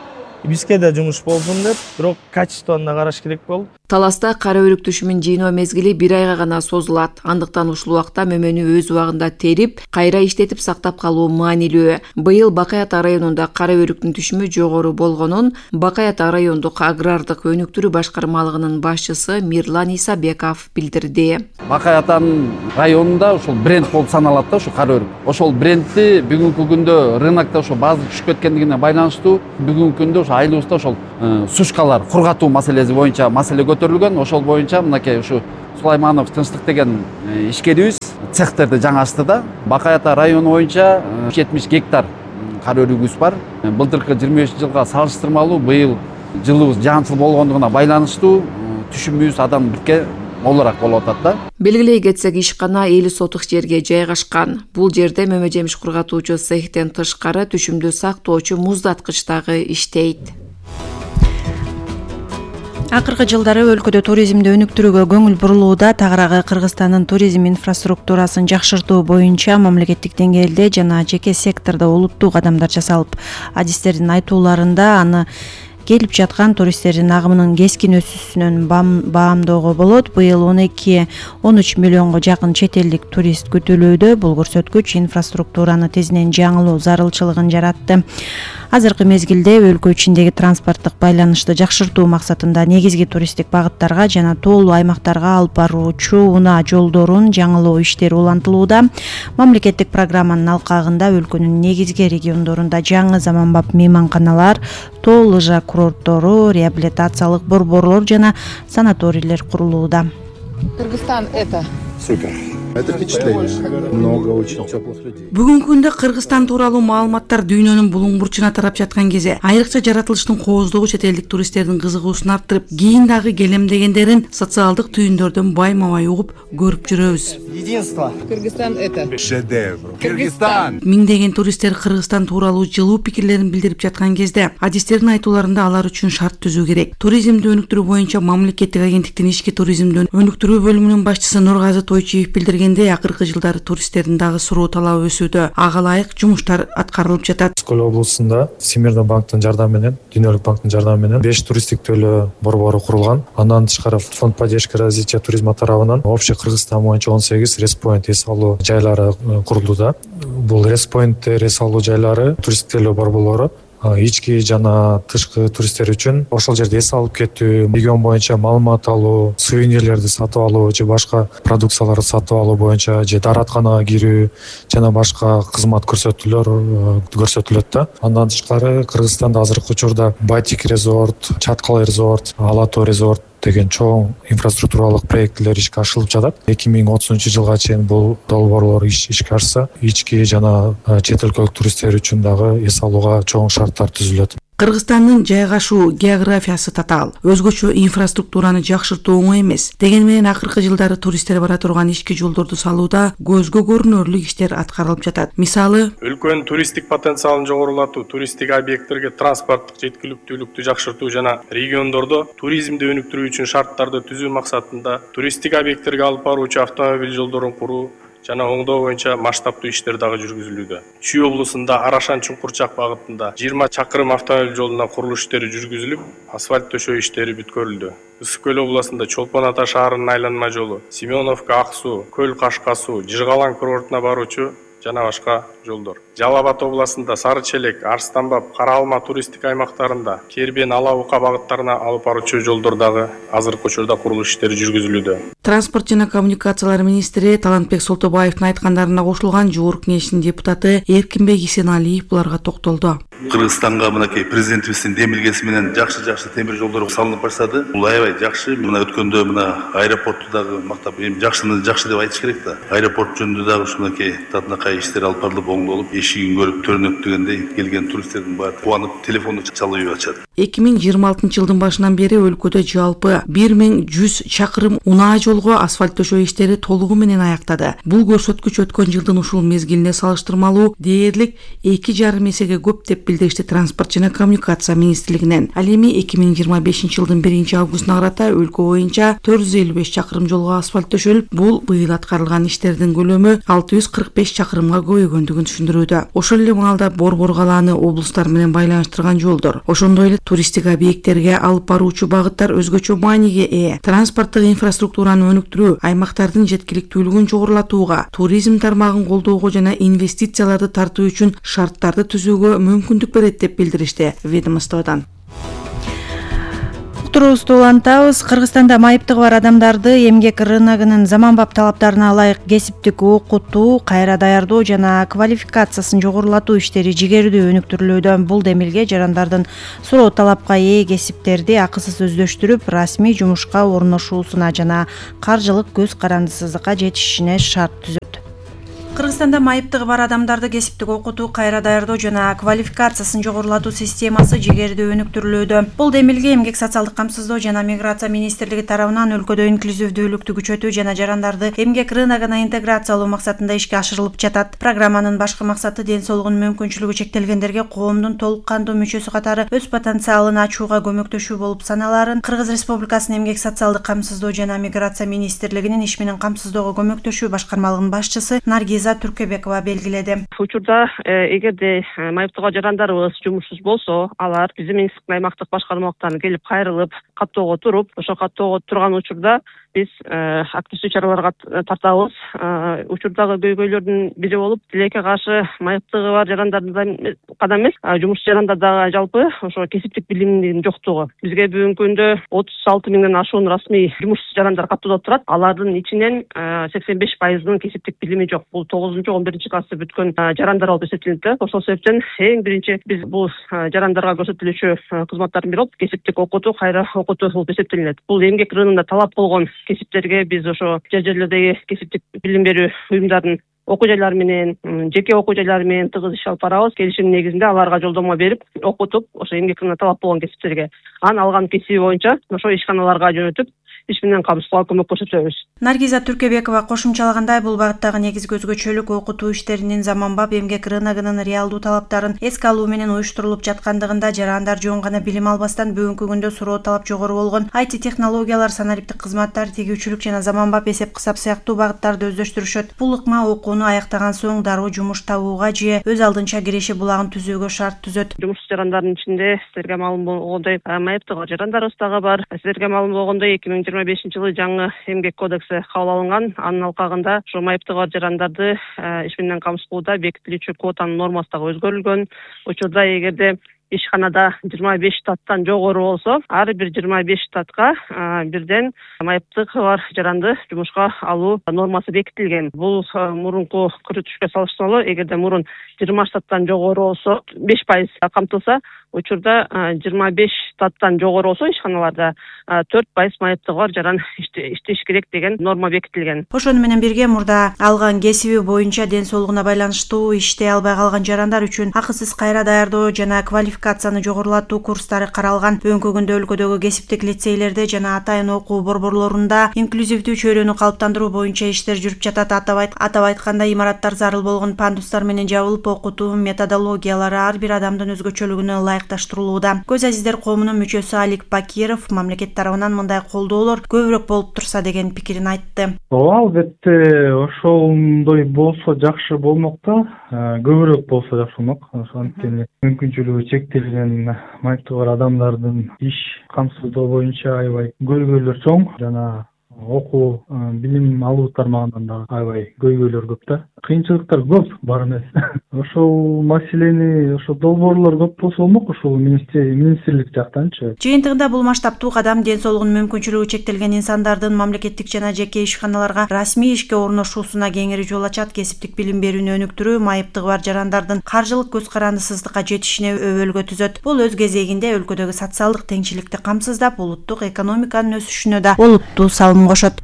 бизге да жумуш болсун деп, бирок качествону да караш керек болду. Таласта кара өрүк түшүмүн жыйноо мезгили бир айга гана созулат. Андыктан ушул убакта мөмөнү өз убагында терип, кайра иштетип сактап калуу маанилүү. Быйыл Бакай Ата районунда кара өрүктүн түшүмү жогору болгонун Бакай Ата райондук агрардык өнүктүрүү башкармалыгынын башчысы Мирлан Исабеков билдирди. Бакай Атанын районунда ушул бренд болуп саналат да, ушу кара өрүк. Ошол брендти бүгүнкү күндө рынокто ошо баазы түшүп кеткендигине байланыштуу бүгүнкү күндө ошо айылыбызда ошол сушкалар кургатуу маселеси боюнча маселе көтөрүлгөн. Ошол боюнча мынакей ушу Сулайманов Тынчтык деген ишкерибиз цехтерди жаңы ачты да. Бакай Ата району боюнча жетимиш гектар кара өрүгүбүз бар. Былтыркы жыйырма бешинчи жылга салыштырмалуу быйыл жылыбыз жаанчыл болгондугуна байланыштуу түшүмүбүз адам бирке молураак болуп атат да. Белгилей кетсек, ишкана элүү сотук жерге жайгашкан. Бул жерде мөмө жемиш кургатуучу цехтен тышкары түшүмдү сактоочу муздаткыч дагы иштейт. Акыркы жылдары өлкөдө туризмди өнүктүрүүгө көңүл бурулууда. Тагыраагы Кыргызстандын туризм инфраструктурасын жакшыртуу боюнча мамлекеттик деңгээлде жана жеке сектордо олуттуу кадамдар жасалып, адистердин айтууларында аны келип жаткан туристтердин агымынын кескин өсүүсүнөн баамдоого болот. Быйыл он эки он үч миллионго жакын чет элдик турист күтүлүүдө. Бул көрсөткүч инфраструктураны тезинен жаңылоо зарылчылыгын жаратты. Азыркы мезгилде өлкө ичиндеги транспорттук байланышты жакшыртуу максатында негизги туристтик багыттарга жана тоолуу аймактарга алып баруучу унаа жолдорун жаңылоо иштери улантылууда. Мамлекеттик программанын алкагында өлкөнүн негизги региондорунда жаңы заманбап мейманканалар, тоо лыжа курорттору, реабилитациялык борборлор жана санаторийлер курулууда. Кыргызстан это супер. Это впечатление. Много очень теплых людей. Бүгүнкү күндө Кыргызстан тууралуу маалыматтар дүйнөнүн булуң бурчуна тарап жаткан кезде айрыкча жаратылыштын кооздугу чет элдик туристтердин кызыгуусун арттырып, кийин дагы келем дегендерин социалдык түйүндөрдөн байма-бай угуп көрүп жүрөбүз. Единство. Кыргызстан это шедевр. Кыргызстан. Миңдеген туристтер Кыргызстан тууралуу жылуу пикирлерин билдирип жаткан кезде адистердин айтууларында алар үчүн шарт түзүү керек. Туризмди өнүктүрүү боюнча мамлекеттик агенттиктин ички туризмди өнүктүрүү бөлүмүнүн башчысы Нургазы Тойчиев билдирген акыркы жылдары туристтердин дагы суроо талабы өсүүдө. Ага ылайык жумуштар аткарылып жатат. Скөл облусунда Всемирный банктын жардамы менен, Дүйнөлүк банктын жардамы менен беш туристтик төлөө борбору курулган. Андан тышкары Фонд поддержки развития туризма тарабынан общий Кыргызстан боюнча он сегиз респоинт эс алуу жайлары курулууда. Бул респоинт эс алуу жайлары туристтик төлөө борборлору ички жана тышкы туристтер үчүн ошол жерде эс алып кетүү, регион боюнча маалымат алуу, сувенирлерди сатып алуу же башка продукцияларды сатып алуу боюнча же дааратканага кирүү жана башка кызмат көрсөтүүлөр көрсөтүлөт да. Андан тышкары Кыргызстанда азыркы учурда Батик резорт, Чаткал резорт, Алатоо резорт деген чоң инфраструктуралык проекттер ишке ашырылып жатат. эки миң отузунчу жылга чейин бул долбоорлор ишке ашса, ички жана чет өлкөлүк туристтер үчүн дагы эс алууга чоң шарттар түзүлөт. Кыргызстандын жайгашуу географиясы татаал, өзгөчө инфраструктураны жакшыртуу оңой эмес. Дегени менен акыркы жылдары туристтер бара турган ички жолдорду салууда көзгө көрүнөрлүк иштер аткарылып жатат. Мисалы, өлкөнүн туристтик потенциалын жогорулатуу, туристтик объекттерге транспорттук жеткиликтүүлүктү жакшыртуу жана региондордо туризмди өнүктүрүү үчүн шарттарды түзүү максатында туристтик объекттерге алып баруучу автомобиль жолдорун куруу жана оңдоо боюнча масштабтуу иштер дагы жүргүзүлүүдө. Чүй облусунда Арашан Чуңкурчак багытында жыйырма чакырым автомобиль жолуна курулуш иштери жүргүзүлүп, асфальт төшөө иштери бүткөрүлдү. Ысык көл областында Чолпон Ата шаарынын айланма жолу, Семеновка Ак суу, Көл Кашка суу, Жыргалаң курортуна баруучу жана башка жолдор. Жалал Абад областында Сары Челек, Арстанбап, Кара Алма туристтик аймактарында Кербен, Ала Ука багыттарына алып баруучу жолдор дагы азыркы учурда курулуш иштери жүргүзүлүүдө. Транспорт жана коммуникациялар министри Талантбек Солтобаевдин айткандарына кошулган Жогорку Кеңештин депутаты Эркинбек Исеналиев буларга токтолду. Кыргызстанга мынакей президентибиздин демилгеси менен жакшы-жакшы темир жолдор салынып баштады. Бул аябай жакшы. Мына өткөндө мына аэропортту дагы мактап, эми жакшыны жакшы деп айтыш керек да. Аэропорт жөнүндө дагы ушунакей татынакай иштер алып барылып, оңдолуп, эшигин көрүп төрүнөт дегендей келген туристтердин баары кубанып телефонду чалып ачат. эки миң жыйырма алтынчы жылдын башынан бери өлкөдө жалпы бир миң жүз чакырым унаа жолго асфальт төшөө иштери толугу менен аяктады. Бул көрсөткүч өткөн жылдын ушул мезгилине салыштырмалуу дээрлик эки жарым эсеге көп деп билдиришти Транспорт жана коммуникация министрлигинен. Ал эми эки миң жыйырма бешинчи жылдын биринчи августуна карата өлкө боюнча төрт жүз элүү беш чакырым жолго асфальт төшөлүп, бул быйыл аткарылган иштердин көлөмү алты жүз кырк беш чакырымга көбөйгөндүгүн түшүндүрүүдө. Ошол эле маалда Борбор калааны облустар менен байланыштырган жолдор, ошондой эле туристтик объекттерге алып баруучу багыттар өзгөчө мааниге ээ. Транспорттук инфраструктураны өнүктүрүү, аймактардын жеткиликтүүлүгүн жогорулатууга, туризм тармагын колдоого жана инвестицияларды тартуу үчүн шарттарды түзүүгө мүмкүндүк берет деп билдиришти ведомстводон. Уктуруубузду улантабыз. Кыргызстанда майыптыгы бар адамдарды эмгек рыногунун заманбап талаптарына ылайык кесиптик окутуу, кайра даярдоо жана квалификациясын жогорулатуу иштери жигердүү өнүктүрүлүүдө. Бул демилге жарандардын суроо талапка ээ кесиптерди акысыз өздөштүрүп, расмий жумушка орношуусуна жана каржылык көз карандысыздыкка жетишишине шарт түзөт. Кыргызстанда майыптыгы бар адамдарды кесиптик окутуу, кайра даярдоо жана квалификациясын жогорулатуу системасы жигердүү өнүктүрүлүүдө. Бул демилге Эмгек социалдык камсыздоо жана миграция министрлиги тарабынан өлкөдө инклюзивдүүлүктү күчөтүү жана жарандарды эмгек рыногуна интеграциялоо максатында ишке ашырылып жатат. Программанын башкы максаты ден соолугунун мүмкүнчүлүгү чектелгендерге коомдун толук кандуу мүчөсү катары өз потенциалын ачууга көмөктөшүү болуп саналарын Кыргыз Республикасынын Эмгек социалдык камсыздоо жана миграция министрлигинин иш менен камсыздоого көмөктөшүү башкармалыгынын башчысы Наргиза Түркөбекова белгиледи. Учурда эгерде майыптыгы жарандарыбыз жумушсуз болсо, алар биздин министрликтин аймактык башкармалыктарына келип кайрылып, каттоого туруп, ошо каттоого турган учурда биз активдүү чараларга тартабыз. Учурдагы көйгөйлөрдүн бири болуп, тилекке каршы майыптыгы бар жарандарда гана эмес, жумушчу жарандарда жалпы ошо кесиптик билимдин жоктугу. Бизге бүгүнкү күндө отуз алты миңден ашуун расмий жумушчу жарандар каттоодо турат. Алардын ичинен сексен беш пайызынын кесиптик билими жок. Бул тогузунчу он биринчи классы бүткөн жарандар болуп эсептелинет. Ошол себептен эң биринчи биз бул жарандарга көрсөтүлүүчү кызматтардын бири болуп кесиптик окутуу, кайра окутуу болуп эсептелинет. Бул эмгек рыногунда талап болгон кесиптерге биз ошо жер жерлердеги кесиптик билим берүү уюмдардын окуу жайлары менен, жеке окуу жайлары менен тыгыз иш алып барабыз. Келишим негизинде аларга жолдомо берип, окутуп, ошо эмгек рыногуна талап болгон кесиптерге анан алган кесиби боюнча ошо ишканаларга жөнөтүп, иш менен камсыздоого көмөк көрсөтөбүз. Наргиза Түркөбекова кошумчалагандай, бул багыттагы негизги өзгөчөлүк окутуу иштеринин заманбап эмгек рыногунун реалдуу талаптарын эске алуу менен уюштурулуп жаткандыгында, жарандар жөн гана билим албастан бүгүнкү күндө суроо талап жогору болгон ай ти технологиялар, санариптик кызматтар, тегүүчүлүк жана заманбап эсеп-кысап сыяктуу багыттарды өздөштүрүшөт. Бул ыкма окууну аяктаган соң дароо жумуш табууга же өз алдынча киреши булагын түзүүгө шарт түзөт. Жумушчу жарандардын ичинде силерге маалым болгондой майыптыгы жарандарыбыз дагы бар. Силерге маалым болгондой эки миң жыйырма бешинчи жылы жаңы эмгек кодекси кабыл алынган. Анын алкагында ошо майыптыгы бар жарандарды иш менен камсыздоодо бекитилүүчү квотанын нормасы дагы өзгөрүлгөн. Учурда эгерде ишканада жыйырма беш штаттан жогору болсо, ар бир жыйырма беш штатка бирден майыптыгы бар жаранды жумушка алуу нормасы бекитилген. Бул мурунку көрсөтүшкө салыштырмалуу, эгерде мурун жыйырма штаттан жогору болсо беш пайыз камтылса, учурда жыйырма беш штаттан жогору болсо ишканаларда төрт пайыз майыптыгы бар жаран иштеш керек деген норма бекитилген. Ошону менен бирге мурда алган кесиби боюнча ден соолугуна байланыштуу иштей албай калган жарандар үчүн акысыз кайра даярдоо жана квалификацияны жогорулатуу курстары каралган. Бүгүнкү күндө өлкөдөгү кесиптик лицейлерде жана атайын окуу борборлорунда инклюзивдүү чөйрөнү калыптандыруу боюнча иштер жүрүп жатат. Атап айтканда, имараттар зарыл болгон пандустар менен жабылып, окутуу методологиялары ар бир адамдын өзгөчөлүгүнө ылайыкташтырылууда. Көз азиздер коомунун мүчөсү Алик Бакиров мамлекет тарабынан мындай колдоолор көбүрөөк болуп турса деген пикирин айтты. Ооба, албетте ошондой болсо жакшы болмок да, көбүрөөк болсо жакшы болмок. Анткени мүмкүнчүлүгү чектелген майыптыгы бар адамдардын иш камсыздоо боюнча аябай көйгөйлөр чоң жана окуу билим алуу тармагынан да аябай көйгөйлөр көп да. Кыйынчылыктар көп, бар эмес. Ошол маселени, ошо долбоорлор көп болсо болмок, ошол министрлик жактанчы. Жыйынтыгында бул масштабтуу кадам ден соолугунун мүмкүнчүлүгү чектелген инсандардын мамлекеттик жана жеке ишканаларга расмий ишке орношуусуна кеңири жол ачат. Кесиптик билим берүүнү өнүктүрүү майыптыгы бар жарандардын каржылык көз карандысыздыкка жетишине өбөлгө түзөт. Бул өз кезегинде өлкөдөгү социалдык теңчиликти камсыздап, улуттук экономиканын өсүшүнө да олуттуу салым кошот.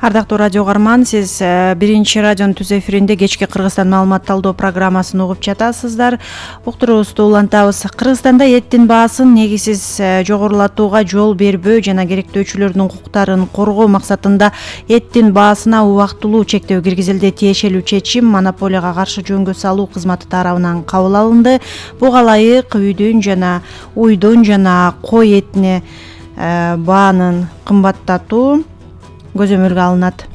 Ардактуу радио угарман, сиз биринчи радионун түз эфиринде кечки Кыргызстан маалымат талдоо программасын угуп жатасыздар. Уктуруубузду улантабыз. Кыргызстанда эттин баасын негизсиз жогорулатууга жол бербөө жана керектөөчүлөрдүн укуктарын коргоо максатында эттин баасына убактылуу чектөө киргизилди. Тиешелүү чечим монополияга каршы жөнгө салуу кызматы тарабынан кабыл алынды. Буга ылайык үйдүн жана уйдун жана кой этине баанын кымбаттатуу көзөмөлгө алынат.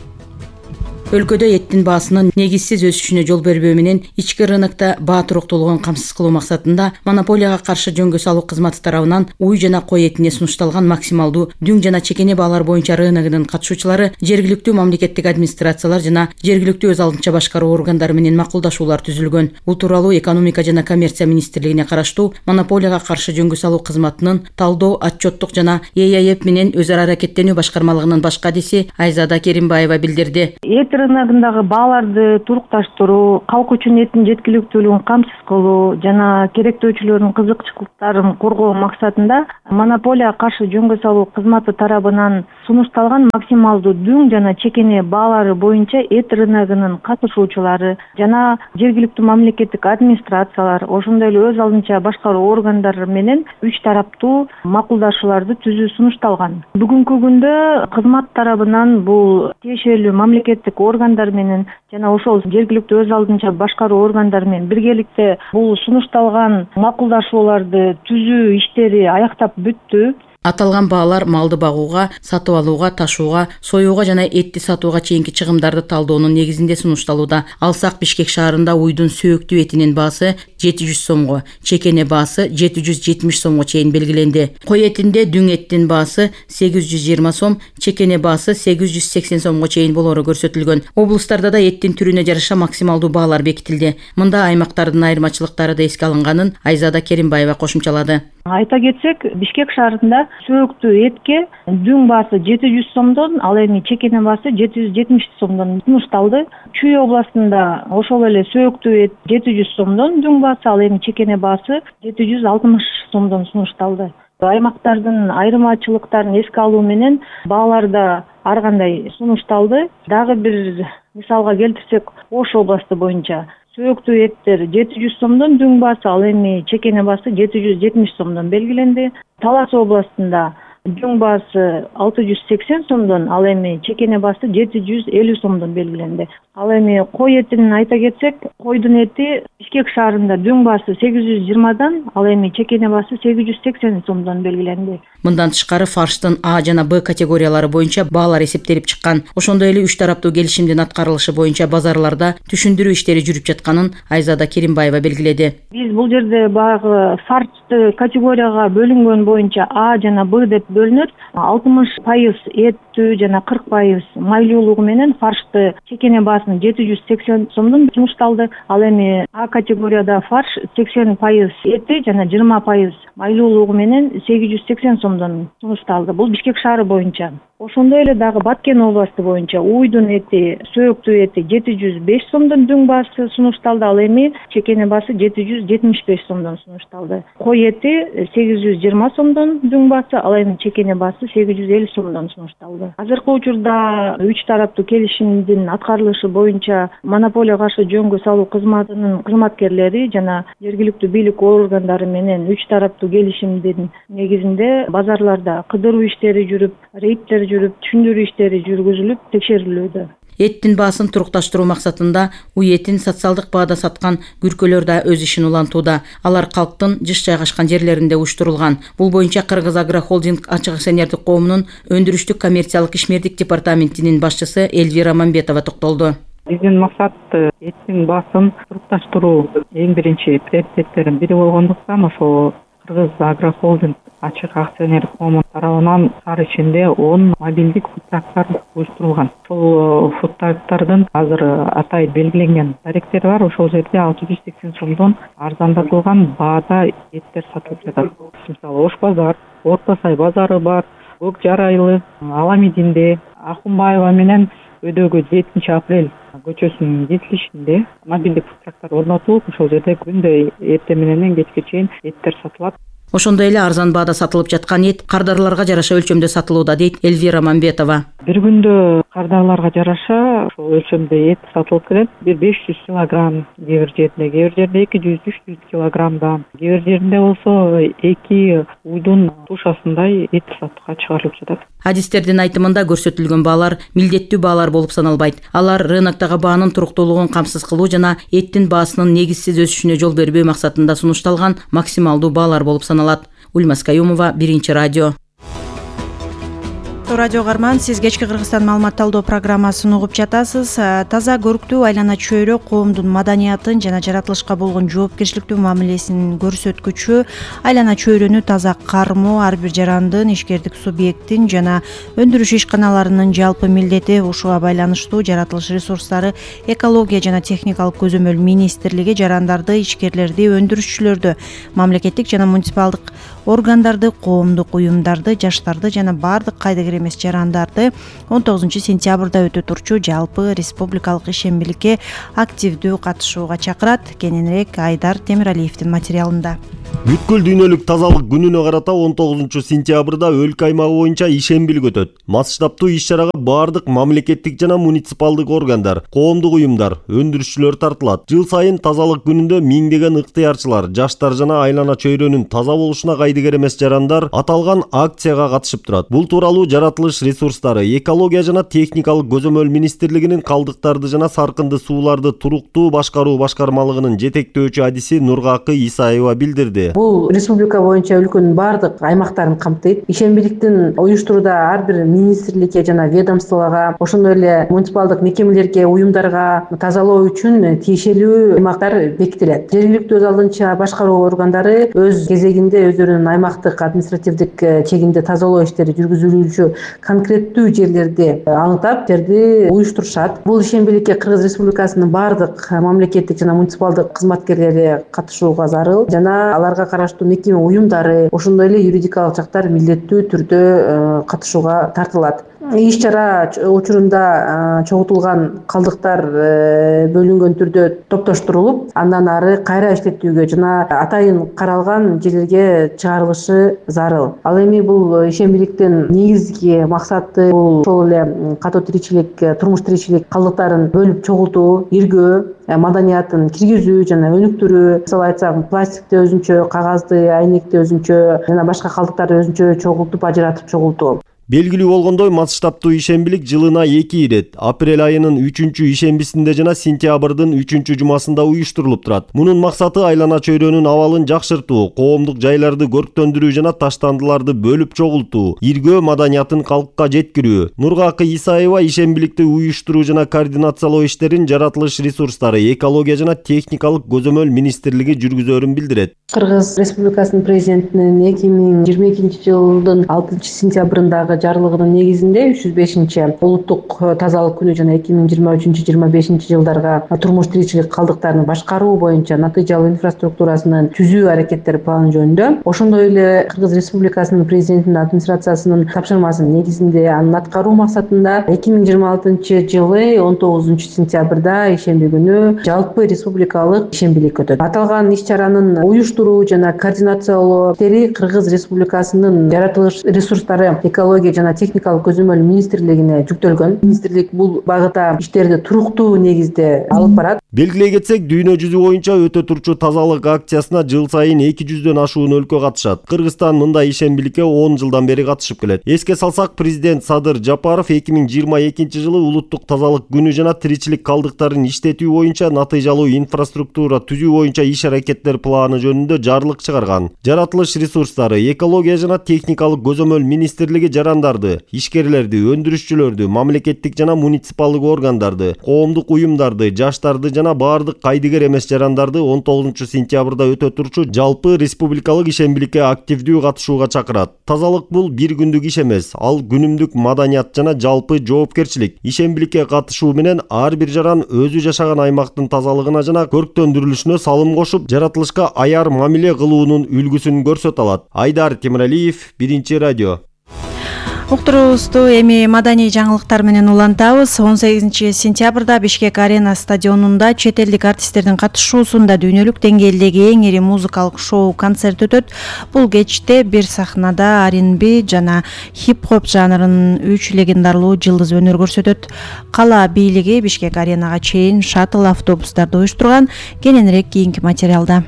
Өлкөдө эттин баасынын негизсиз өсүшүнө жол бербөө менен ички рынокто баа туруктуулугун камсыз кылуу максатында монополияга каршы жөнгө салуу кызматы тарабынан уй жана кой этине сунушталган максималдуу дүң жана чекене баалар боюнча рыногунун катышуучулары жергиликтүү мамлекеттик администрациялар жана жергиликтүү өз алдынча башкаруу органдары менен макулдашуулар түзүлгөн. Бул тууралуу экономика жана коммерция министрлигине караштуу монополияга каршы жөнгө салуу кызматынын талдоо, отчеттук жана Е А Эп менен өз ара аракеттенүү башкармалыгынын баш кадиси Айзада Керимбаева билдирди. Рыногундагы бааларды турукташтыруу, калк үчүн эттин жеткиликтүүлүгүн камсыз кылуу жана керектөөчүлөрдүн кызыкчылыктарын коргоо максатында монополияга каршы жөнгө салуу кызматы тарабынан сунушталган максималдуу дүң жана чекене баалары боюнча эт рыногунун катышуучулары жана жергиликтүү мамлекеттик администрациялар, ошондой эле өз алдынча башкаруу органдары менен үч тараптуу макулдашууларды түзүү сунушталган. Бүгүнкү күндө кызмат тарабынан бул тиешелүү мамлекеттик органдар менен жана ошол жергиликтүү өз алдынча башкаруу органдары менен биргеликте бул сунушталган макулдашууларды түзүү иштери аяктап бүттү. Аталган баалар малды багууга, сатып алууга, ташууга, союуга жана этти сатууга чейинки чыгымдарды талдоонун негизинде сунушталууда. Алсак Бишкек шаарында уйдун сөөктүү этинин баасы жети жүз сомго, чекене баасы жети жүз жетимиш сомго чейин белгиленди. Кой этинде дүң эттин баасы сегиз жүз жыйырма сом, чекене баасы сегиз жүз сексен сомго чейин болоору көрсөтүлгөн. Облустарда да эттин түрүнө жараша максималдуу баалар бекитилди. Мында аймактардын айырмачылыктары да эске алынганын Айзада Керимбаева кошумчалады. Айта кетсек, Бишкек шаарында сөөктүү этке дүң баасы жети жүз сомдон, ал эми чекене баасы жети жүз жетимиш сомдон сунушталды. Чүй областында ошол эле сөөктүү эт жети жүз сомдон дүң баасы, ал эми чекене баасы жети жүз алтымыш сомдон сунушталды. Аймактардын айырмачылыктарын эске алуу менен баалар да ар кандай сунушталды. Дагы бир мисалга келтирсек, Ош областы боюнча сөөктүү эттер жети жүз сомдон дүң баасы, ал эми чекене баасы жети жүз жетимиш сомдон белгиленди. Талас областында дүң баасы алты жүз сексен сомдон, ал эми чекене баасы жети жүз элүү сомдон белгиленди. Ал эми кой этин айта кетсек, койдун эти Бишкек шаарында дүң баасы сегиз жүз жыйырмадан, ал эми чекене баасы сегиз жүз сексен сомдон белгиленди. Мындан тышкары фарштын А жана Б категориялары боюнча баалар эсептелип чыккан. Ошондой эле үч тараптуу келишимдин аткарылышы боюнча базарларда түшүндүрүү иштери жүрүп жатканын Айзада Керимбаева белгиледи. Биз бул жерде баягы фаршты категорияга бөлүнгөн боюнча А жана Б деп бөлүнөт. алтымыш пайыз эттүү жана кырк пайыз майлуулугу менен фаршты чекене баасын жети жүз сексен сомдон сунушталды. Ал эми А категорияда фарш сексен пайыз эти жана жыйырма пайыз майлуулугу менен сегиз жүз сексен сомдон сунушталды. Бул Бишкек шаары боюнча. Ошондой эле дагы Баткен областы боюнча уйдун эти, сөөктүү эти жети жүз беш сомдон дүң баасы сунушталды, ал эми чекене баасы жети жүз жетимиш беш сомдон сунушталды. Кой эти сегиз жүз жыйырма сомдон дүң баасы, ал эми чекене баасы сегиз жүз элүү сомдон сунушталды. Азыркы учурда үч тараптуу келишимдин аткарылышы боюнча монополияга каршы жөнгө салуу кызматынын кызматкерлери жана жергиликтүү бийлик органдары менен үч тараптуу келишимдин негизинде базарларда кыдыруу иштери жүрүп, рейдтер жүрүп, түшүндүрүү иштери жүргүзүлүп, текшерилүүдө. Эттин баасын турукташтыруу максатында уй этин социалдык баада саткан күркөлөр да өз ишин улантууда. Алар калктын жыш жайгашкан жерлеринде уюштурулган. Бул боюнча Кыргыз Агро Холдинг ачык акционердик коомунун өндүрүштүк коммерциялык ишмердик департаментинин башчысы Эльвира Мамбетова токтолду. Биздин максат эттин баасын турукташтыруу эң биринчи приоритеттердин бири болгондуктан ошол Кыргыз Агро Холдинг ачык акционердик коому тарабынан шаар ичинде он мобилдик фудтрактар уюштурулган. Ошол фудтрактардын азыр атайын белгиленген даректери бар. Ошол жерде алты жүз сексен сомдон арзандатылган баада эттер сатылып жатат. Мисалы Ош базар, Орто Сай базары бар, Көк Жарайлы, Аламидинде, Акунбаева менен өйдөгү жетинчи апрель көчөсүнүн жетилишинде мобилдик фудтрактар орнотулуп, ошол жерде күндө эртең менен кечке чейин эттер сатылат. Ошондой эле арзан баада сатылып жаткан эт кардарларга жараша өлчөмдө сатылууда, дейт Эльвира Мамбетова. Бир күндө кардарларга жараша ошол өлчөмдө эт сатылып келет. Бир беш жүз килограмм кээ бир жерде, кээ бир жерде эки жүз үч жүз килограммда, кээ бир жеринде болсо эки уйдун тушасындай эт сатыкка чыгарылып жатат. Адистердин айтымында көрсөтүлгөн баалар милдеттүү баалар болуп саналбайт. Алар рыноктогу баанын туруктуулугун камсыз кылуу жана эттин баасынын негизсиз өсүшүнө жол бербөө максатында сунушталган максималдуу баалар болуп саналат. Ульмас Каюмова, Биринчи радио. Радио Гарман, сиз кечки Кыргызстан маалымат талдоо программасын угуп жатасыз. Таза көрктүү айлана чөйрө коомдун маданиятын жана жаратылышка болгон жоопкерчиликтүү мамилесин көрсөткүчү. Айлана чөйрөнү таза кармоо ар бир жарандын, ишкердик субъекттин жана өндүрүш ишканаларынын жалпы милдети. Ушуга байланыштуу жаратылыш ресурстары, экология жана техникалык көзөмөл министрлиги жарандарды, ишкерлерди, өндүрүшчүлөрдү, мамлекеттик жана муниципалдык органдарды, коомдук уюмдарды, жаштарды жана бардык кайдыгер эмес жарандарды он тогузунчу сентябрда өтө турчу жалпы республикалык ишембиликке активдүү катышууга чакырат. Кененирээк Айдар Темиралиевдин материалында. Бүткүл дүйнөлүк тазалык күнүнө карата он тогузунчу сентябрда өлкө аймагы боюнча ишембилик өтөт. Масштабтуу иш-чарага бардык мамлекеттик жана муниципалдык органдар, коомдук уюмдар, өндүрүшчүлөр тартылат. Жыл сайын тазалык күнүндө миңдеген ыктыярчылар, жаштар жана айлана чөйрөнүн таза болушуна кайдыгер эмес жарандар аталган акцияга катышып турат. Бул тууралуу жаратылыш ресурстары, экология жана техникалык көзөмөл министрлигинин калдыктарды жана саркынды сууларды туруктуу башкаруу башкармалыгынын жетектөөчү адиси Нургакы Исаева билдирди. Бул республика боюнча өлкөнүн бардык аймактарын камтыйт. Ишембиликтин уюштурууда ар бир министрликке жана ведомстволого, ошондой эле муниципалдык мекемелерге, уюмдарга тазалоо үчүн тиешелүү аймактар бекитилет. Жергиликтүү өз алдынча башкаруу органдары өз кезегинде өздөрүнүн аймактык административдик чегинде тазалоо иштери жүргүзүлүүчү конкреттүү жерлерди аныктап, жерди уюштурушат. Бул ишембиликке Кыргыз Республикасынын бардык мамлекеттик жана муниципалдык кызматкерлери катышууга зарыл жана аларга караштуу мекеме уюмдары, ошондой эле юридикалык жактар милдеттүү түрдө катышууга тартылат. Иш-чара учурунда чогултулган калдыктар бөлүнгөн түрдө топтоштурулуп, андан ары кайра иштетүүгө жана атайын каралган жерлерге чыгарылышы зарыл. Ал эми бул ишембиликтин негизги максаты бул ошол эле катуу тиричилик, турмуш тиричилик калдыктарын бөлүп чогултуу, иргөө, маданиятын киргизүү жана өнүктүрүү. Мисалы айтсак, пластикти өзүнчө, кагазды, айнекти өзүнчө жана башка калдыктарды өзүнчө чогултуп, ажыратып чогултуу. Белгилүү болгондой, масштабтуу ишембилик жылына эки ирет, апрель айынын үчүнчү ишембисинде жана сентябрдын үчүнчү жумасында уюштурулуп турат. Мунун максаты айлана чөйрөнүн абалын жакшыртуу, коомдук жайларды көрктөндүрүү жана таштандыларды бөлүп чогултуу, иргөө маданиятын калкка жеткирүү. Нургакы Исаева ишембиликти уюштуруу жана координациялоо иштерин жаратылыш ресурстары, экология жана техникалык көзөмөл министрлиги жүргүзөрүн билдирет. Кыргыз Республикасынын президентинин эки миң жыйырма экинчи жылдын алтынчы сентябрындагы жарлыгынын негизинде үч жүз бешинчи улуттук тазалык күнү жана эки миң жыйырма үчүнчү жыйырма бешинчи жылдарга турмуш тиричилик калдыктарын башкаруу боюнча натыйжалуу инфраструктурасынын түзүү аракеттери планы жөнүндө, ошондой эле Кыргыз Республикасынын президентинин администрациясынын тапшырмасынын негизинде анын аткаруу максатында эки миң жыйырма алтынчы жылы он тогузунчу сентябрда ишемби күнү жалпы республикалык ишембилик өтөт. Аталган иш-чаранын уюштуруу жана координациялоо иштери Кыргыз Республикасынын жаратылыш ресурстары, экология жана техникалык көзөмөл министрлигине жүктөлгөн. Министрлик бул багыта иштерди туруктуу негизде алып барат. Белгилей кетсек, дүйнө жүзү боюнча өтө турчу тазалык акциясына жыл сайын эки жүздөн ашуун өлкө катышат. Кыргызстан мындай ишембиликке он жылдан бери катышып келет. Эске салсак, президент Садыр Жапаров эки миң жыйырма экинчи жылы улуттук тазалык күнү жана тиричилик калдыктарын иштетүү боюнча натыйжалуу инфраструктура түзүү боюнча иш-аракеттер планы жөнүндө жарлык чыгарган. Жаратылыш ресурстары, экология жана техникалык көзөмөл министрлиги жарандарды, ишкерлерди, өндүрүшчүлөрдү, мамлекеттик жана муниципалдык органдарды, коомдук уюмдарды, жаштарды жана бардык кайдыгер эмес жарандарды он тогузунчу сентябрда өтө турчу жалпы республикалык ишембиликке активдүү катышууга чакырат. Тазалык бул бир күндүк иш эмес, ал күнүмдүк маданият жана жалпы жоопкерчилик. Ишембиликке катышуу менен ар бир жаран өзү жашаган аймактын тазалыгына жана көрктөндүрүлүшүнө салым кошуп, жаратылышка аяр мамиле кылуунун үлгүсүн көрсөтө алат. Айдар Темиралиев, Биринчи радио. Уктуруубузду эми маданий жаңылыктар менен улантабыз. он сегизинчи сентябрда Бишкек Арена стадионунда чет элдик артисттердин катышуусунда дүйнөлүк деңгээлдеги эң ири музыкалык шоу концерт өтөт. Бул кечте бир сахнада ар энд би жана хип-хоп жанрынын үч легендарлуу жылдыз өнөр көрсөтөт. Кала бийлиги Бишкек Аренага чейин шаттл автобустарды уюштурган. Кененирээк кийинки материалда.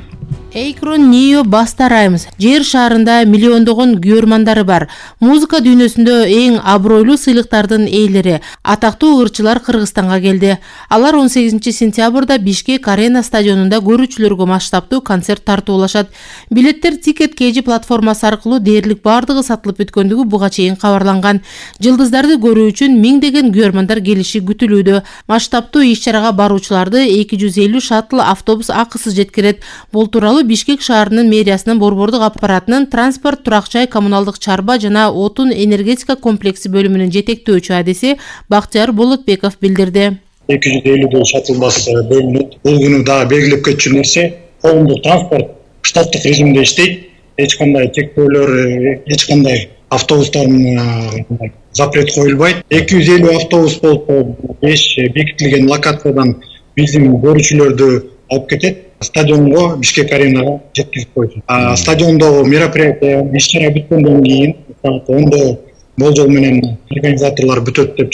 Эйкрон Нио Баста Раймс жер шаарында миллиондогон көрмандары бар. Музыка дүйнөсүндө эң абройлуу сыйлыктардын ээлери, атактуу ырчылар Кыргызстанга келди. Алар он сегизинчи сентябрда Бишкек Арена стадионунда көрүүчүлөргө масштабтуу концерт тартуулашат. Билеттер Ticket кей джи платформасы аркылуу дээрлик бардыгы сатылып бүткөндүгү буга чейин кабарланган. Жылдыздарды көрүү үчүн миңдеген көрмандар келиши күтүлүүдө. Масштабтуу иш-чарага баруучуларды эки жүз элүү шаттл автобус акысыз жеткирет. Бул тууралуу Бишкек шаарынын мэриясынын борбордук аппаратынын транспорт, турак-жай, коммуналдык чарба жана отун энергетика комплекси бөлүмүнүн жетектөөчү адиси Бактыяр Болотбеков билдирди. эки жүз элүүдөй шаттл бас бөлүнөт. Бул күнү дагы белгилеп кетчү нерсе, коомдук транспорт штаттык режимде иштейт. Эч кандай чектөөлөр, эч кандай автобустардын запрет коюлбайт. эки жүз элүү автобус болсо беш бекитилген локациядан биздин көрүүчүлөрдү алып кетет. Стадионго Бишкек Аренага жеткизип койду. Стадиондогу мероприятие иш-чара бүткөндөн кийин саат ондо болжол менен организаторлор бүтөт деп